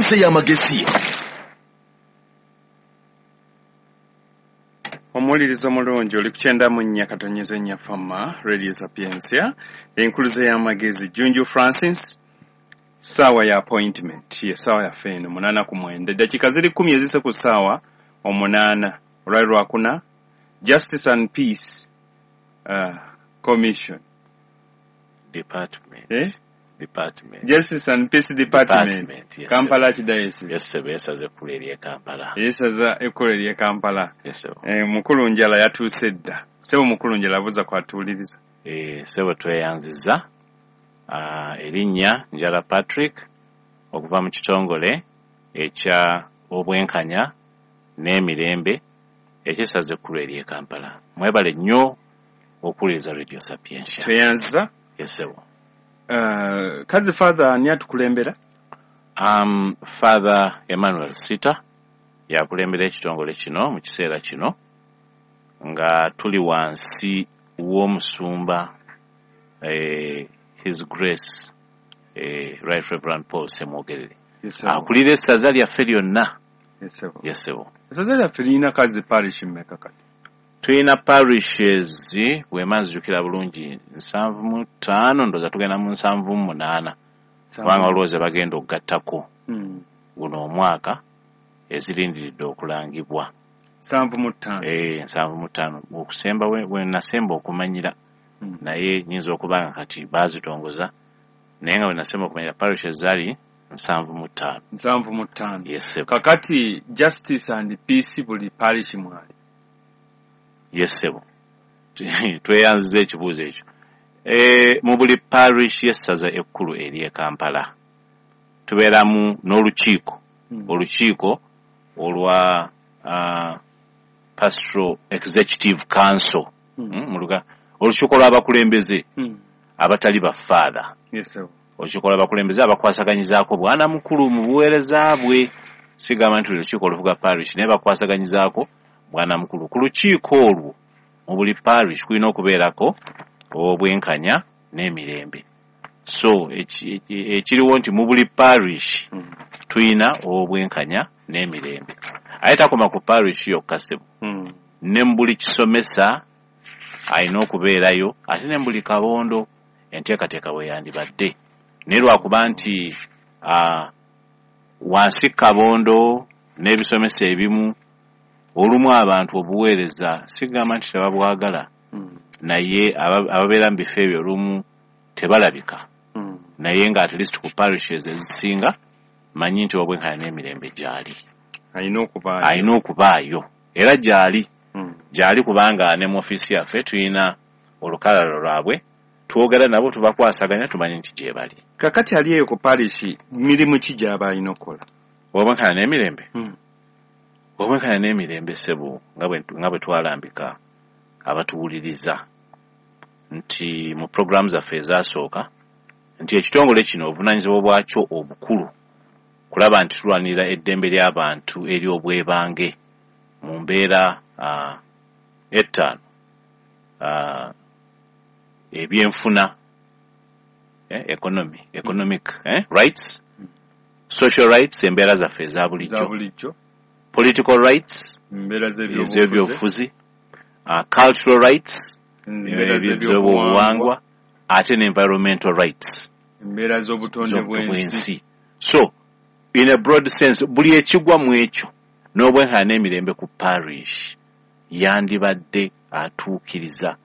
Enkuluze y'amagezi. Omuwuliriza omulungi oli ku 94 Fama Radio Sapientia, enkuluze y'amagezi. Junju Francis, saawa ya appointment ye saawa yaffe eno 89, eddakiika ziri 10 ezise ku ssaawa 8, olwali lwakuna. Justice and Peace Commission Department. Eh? Department. Justice and Peace Department. Department, yes, Kampala Archdiocese. Yes, sir. Yesaza ekkulu ery'e Kampala. Yesaza ekkulu ery'e Kampala. Yes, sir. Mukulu Njala yatuuse dda. Ssebo Mukulu Njala, buuza kwatuwuliriza. Ssebo, tweyanziza. Erinnya Njala Patrick, okuva mu kitongole ekya obwenkanya n'emirembe eky'essaza ekkulu ery'e Kampala. Mwebale nnyo okuwuliriza Radio Sapientia. Tweyanziza. Yes, ssebo. Kazi Father, ani atukulembera? Father Emmanuel Sita yakulembera ekitongole kino mu kiseera kino, nga tuli wansi w'omusumba His Grace Right Reverend Paul Semwogerere. Yes, sir. Akulira essaza lyaffe lyonna. Yes, sir. Yes, ssebo. Essaza lyaffe lirina kazi parish mmeka kati? Tulina parishes, bwema nzijukira bulungi, 75, ndowooza tugenda mu 78, kubanga waliwo ze bagenda okugattako guno omwaka ezirindiridde okulangibwa. 75. 75 okusemba we nasemba okumanyira, naye nyinza okuba nga kati baazitongoza, naye nga we nasemba okumanyira parishes zaali 75. 75. Yes, ssebo. Kakati Justice and Peace buli parish mwali? Yes, ssebo. Tweyanziza ekibuuzo ekyo. Mu buli parish y'essaza ekkulu ery'e Kampala tubeeramu n'olukiiko, olukiiko olwa Pastoral Executive Council, olukiiko lw'abakulembeze abatali bafaather. Yes, sir. Olukiiko lw'abakulembeze abakwasaganyizaako bwana mukulu mu buweereza bwe. Sigamba nti lukiiko olufuga parish, naye bakwasaganyizaako bwana mukulu. Ku lukiiko olwo mu buli parish kulina okubeerako obwenkanya n'emirembe. So ekiriwo nti mu buli parish tulina obwenkanya n'emirembe. Aye takoma ku parish yokka, ssebo. Ne mu buli kisomesa alina okubeerayo, ate ne mu buli kabondo enteekateeka bwe yandibadde. Naye lwakuba nti wansi kabondo n'ebisomesa ebimu, olumu abantu obuweereza sigamba nti tebabwagala, naye ababeera mu bifo ebyo olumu tebalabika. Naye nga at least ku parishes ezisinga manyi nti obwenkanya n'emirembe gyali. Alina okubaayo. Alina okubaayo era gyali. Gyali kubanga ne mu ofiisi yaffe tulina olukalala lwabwe, twogera nabo, tubakwasaganya, tumanyi nti gye bali. Kakati ali eyo ku parish mirimu ki gy'aba alina okukola? Obwenkanya n'emirembe? Obwenkanya n'emirembe, ssebo, nga bwe twalambika abatuwuliriza nti mu puroguramu zaffe ezasooka nti ekitongole kino obuvunaanyizibwa bwakyo obukulu kulaba nti tulwanirira eddembe ly'abantu ery'obwebange mu mbeera 5, ebyenfuna, economy, economic rights, social rights, embeera zaffe eza bulijjo, political rights, embeera ez'ebyobufuzi, cultural rights, ez'ebyobuwangwa, ate ne environmental rights, embeera z'obutonde bw'ensi. So in a broad sense buli ekigwa mu ekyo n'obwenkanya n'emirembe ku parish yandibadde atuukiriza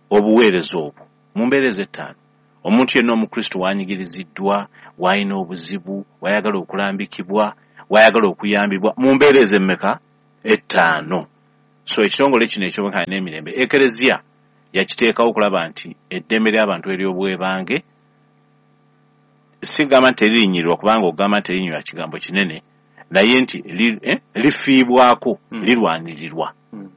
obuweereza obwo mu mbeera ezettaano. Omuntu yenna omukristo wanyigiriziddwa, w'alina obuzibu, w'ayagala okulambikibwa, w'ayagala okuyambibwa mu mbeera ez'emmeka? 5. So ekitongole kino eky'obwenkanya n'emirembe Ekereziya yakiteekawo okulaba nti eddembe ly'abantu ery'obwebange, sigamba nti teririnyirirwa, kubanga okugamba nti teririnyirirwa kigambo kinene, naye nti lifiibwako, lirwanirirwa.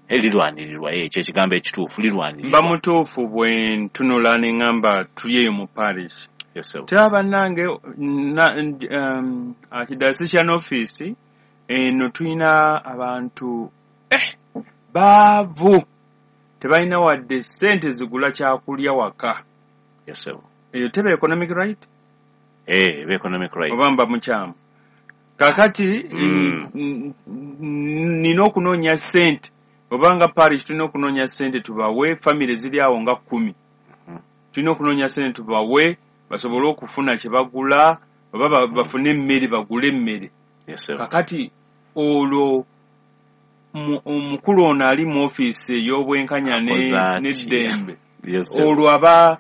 Lirwanirirwa, ekyo ekigambo ekituufu, lirwanirirwa. Mba mutuufu bwe ntunula ne ŋŋamba tuli eyo mu parish? Yes, sir. Teba bannange, Archdiocese office eno tulina abantu baavu, tebalina wadde ssente zigula kyakulya waka. Yes, sir. Eyo teba economic right? Eba economic right. Oba mba mukyamu? Kakati nina okunoonya ssente, obanga parish tulina okunoonya ssente tubawe famire ziri awo nga 10. Tulina okunoonya ssente tubawe basobole okufuna kye bagula oba bafune emmere, bagule emmere. Kakati olwo omukulu ono ali mu ofiisi ey'obwenkanya n'eddembe, olwo aba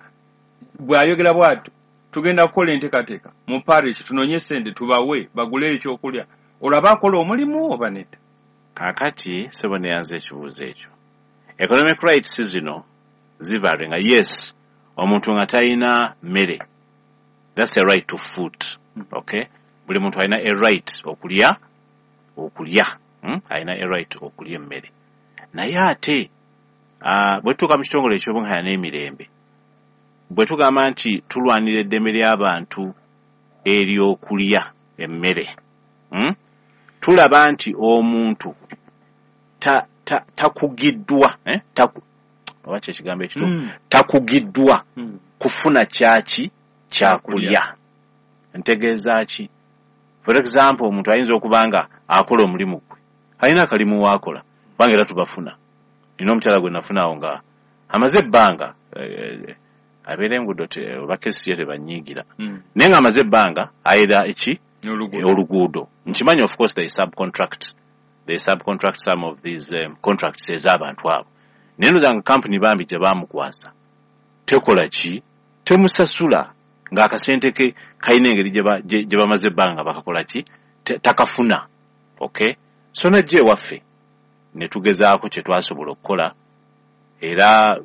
bw'ayogera bw'atyo, tugenda kukola enteekateeka mu parish tunoonye ssente tubawe bagule ekyokulya, olwo aba akola omulimu oba nedda? Kaakati ssebo neyanza ekibuuzo ekyo. Economic rights zino zivaluinga nga yes, omuntu nga talina mmere, that's a right to food. Okay, buli muntu alina a right okulya, alina a right okulya emmere. Naye ate bwe tutuuka mu kitongole eky'obwenkanya n'emirembe, bwe tugamba nti tulwanira eddembe ly'abantu ery'okulya emmere, tulaba nti omuntu takugiddwa, oba kye kigambo ekituufu, takugiddwa kufuna kyaki kyakulya. Ntegeeza ki? For example, omuntu ayinza okuba nga akola omulimu gwe, alina akalimu waakola, kubanga era tubafuna. Nina omukyala gwe nafunaawo nga amaze ebbanga, abeera enguudo oba kesi ye tebanyiigira, naye nga amaze ebbanga ayera eki oluguudo. Nkimanyi of course they subcontract some of these contracts ez'abantu abo, naye ndowooza nga kampuni bambi gye baamukwasa tekola ki, temusasula, ng'akasente ke kalina engeri gye bamaze ebbanga bakakola ki, takafuna. Okay, so najja ewaffe ne tugezaako kye twasobola okukola, era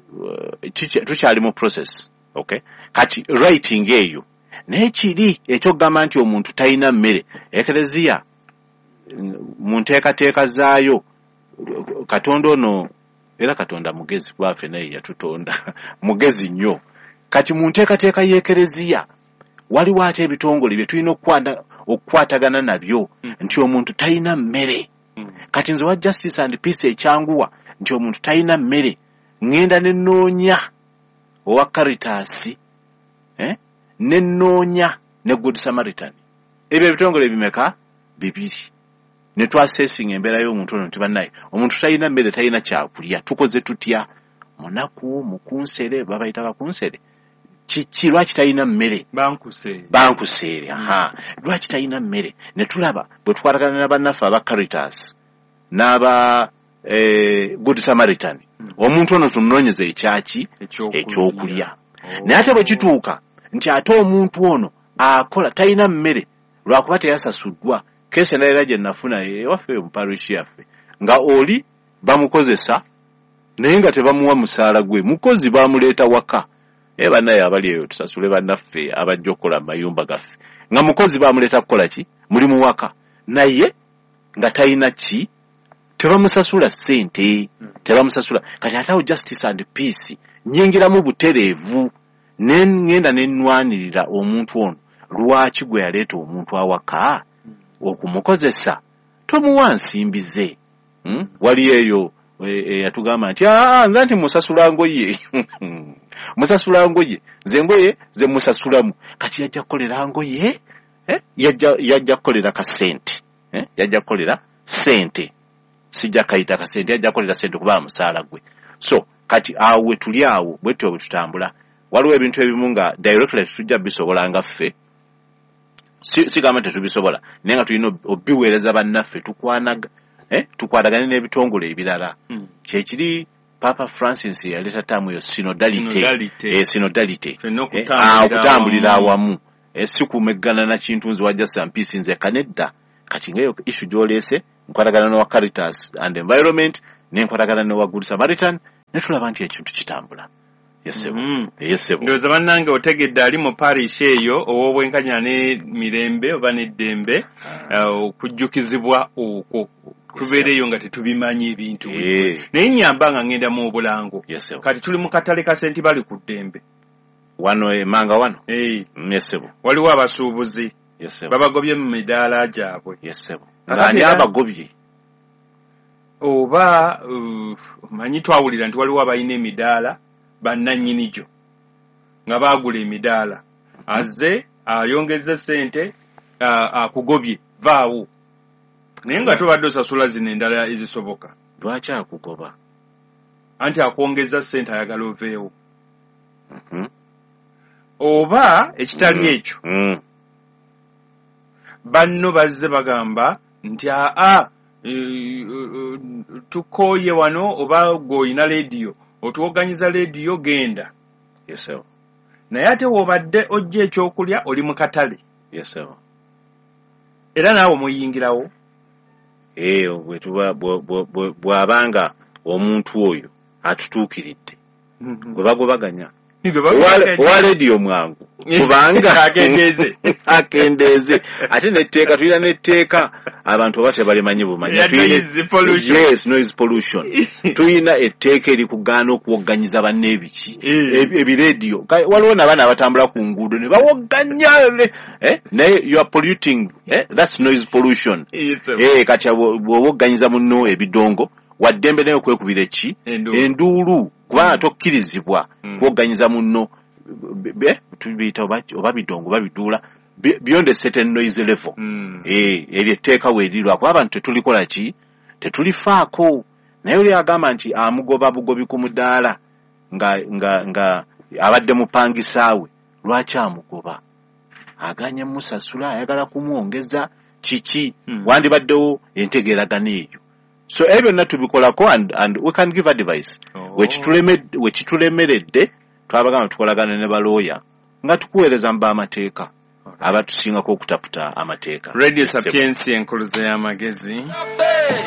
tukyali mu process. Okay, kati writing eyo naye kiri ekyokugamba nti omuntu talina mmere, Ekereziya mu nteekateeka zaayo, Katonda ono era Katonda mugezi, kuba ffe naye yatutonda mugezi nnyo. Kati mu nteekateeka y'Ekereziya waliwo ate ebitongole bye tulina okukwatagana nabyo nti omuntu talina mmere. Kati nze wa Justice and Peace ekyanguwa nti omuntu talina mmere, ŋŋenda ne nnoonya owa Caritas, ne nnoonya ne Good Samaritan. Ebyo ebitongole bimeka? 2. Ne twasesinga embeera y'omuntu ono nti bannaye omuntu talina mmere, talina kyakulya, tukoze tutya? Munaku, mukunsere, babayita bakunsere, kiki, lwaki talina mmere? Bankuseere, aha, lwaki talina mmere? Ne tulaba bwe tukwatagana na bannaffe aba Caritas n'aba Good Samaritan, omuntu ono tumunoonyeza ekyaki, ekyokulya. Naye ate bwe kituuka nti ate omuntu ono akola talina mmere lwakuba teyasasuddwa, kesi endala era gye nafuna ewaffe mu parish yaffe, nga oli bamukozesa naye nga tebamuwa musaala gwe, mukozi bamuleeta waka. Naye bannaye abali eyo tusasule bannaffe abajja okukola mu mayumba gaffe, nga mukozi bamuleeta kukola ki, mulimu waka, naye nga talina ki, tebamusasula ssente, tebamusasula. Kati ate awo Justice and Peace nnyingiramu butereevu, ne ŋŋenda ne nnwanirira omuntu ono, lwaki gwe yaleeta omuntu awaka okumukozesa tomuwa nsimbi ze? Wali eyo yatugamba nti nze nti musasula ngoye, musasula ngoye, nze ngoye ze musasulamu. Kati yajja kukolera ngoye, yajja kukolera kasente, yajja kukolera ssente, sijja kayita kasente, yajja kukolera ssente kuba musaala gwe. So kati awo we tuli awo bwe tutyo bwe tutambula. Waliwo ebintu ebimu nga directly tetujja bisobola nga ffe, sigamba tetubisobola, naye nga tulina obiweereza bannaffe, tukwatagane n'ebitongole ebirala. Kyekiri Papa Francis yaleeta taamu eyo synodality, okutambulira awamu, si kumeggana na kintu nze wa Justice and Peace nze kanedda. Kati ngaeyo issue gy'oleese nkwatagana n'owa Caritas and Environment, nenkwatagana n'owa Good Samaritan, ne tulaba nti ekintu kitambula. Yesebo. Ndowooza bannange otegedde ali mu parish eyo ow'obwenkanya n'emirembe oba n'eddembe, okujjukizibwa okwo tubeereyo nga tetubimanyi ebintu. Naye nnyamba nga ngenda mu bulango. Kati tuli mu katale ka Senti bali ku ddembe wano emanga wano. Yesebo. Waliwo abasuubuzi babagobye mu midaala gyabwe. Yesebo. Ani abagobye? Oba manyi twawulira nti waliwo abalina emidaala bannannyini gyo nga baagula emidaala, azze ayongezza ssente akugobye. Vaawo, naye nga tobadde osasula zino endala ezisoboka. Lwaki akugoba? Anti akwongeza ssente, ayagala oveewo. Oba ekitali ekyo, banno bazze bagamba nti aa, tukooye wano, oba gweolina leediyo otuwoganyiza leediyo, genda. Yes, sir. Naye ate w'obadde ojja ekyokulya oli mu katale. Yes, sir. Era naawe omuyingirawo. Bwe tuba bw'abanga omuntu oyo atutuukiridde, gwe bagobaganya. Gwe Owa leediyo mwangu kubanga Akendeeze. Akendeeze. Ate netteeka, tulina netteeka, abantu oba tebalimanyi bumanyi. Eya noise pollution. Yes, noise pollution. Tulina etteeka erikugaana okuwogganyiza banne ebiki, ebireediyo. Waliwo nabaana abatambula ku nguudo ne bawogganya, naye you are polluting, that's noise pollution. Yes, sir. Kati bw'owogganyiza munno ebidongo, waddembe naye okwekubira eki? Enduulu. Enduulu, kubanga tokkirizibwa kuwogganyiza munno tubiyita oba bidongo oba biduula beyond a certain noise level. Eryo etteeka weerirwa kuba abantu tetulikola ki, tetulifaako. Naye oli agamba nti amugoba bugobi ku mudaala nga abadde mupangisaawe, lwaki amugoba? Aganye musasula, ayagala kumwongeza kiki? Wandibaddewo entegeeragano eyo. So ebyo byonna tubikolako and we can give advice. Oh. Wekitulemeredde, twabagamba tukolagana ne balooya nga tukuweereza mu b'amateeka abatusingako okutaputa amateeka. Radio Yes, sir. Sapientia, enkuluze y'amagezi.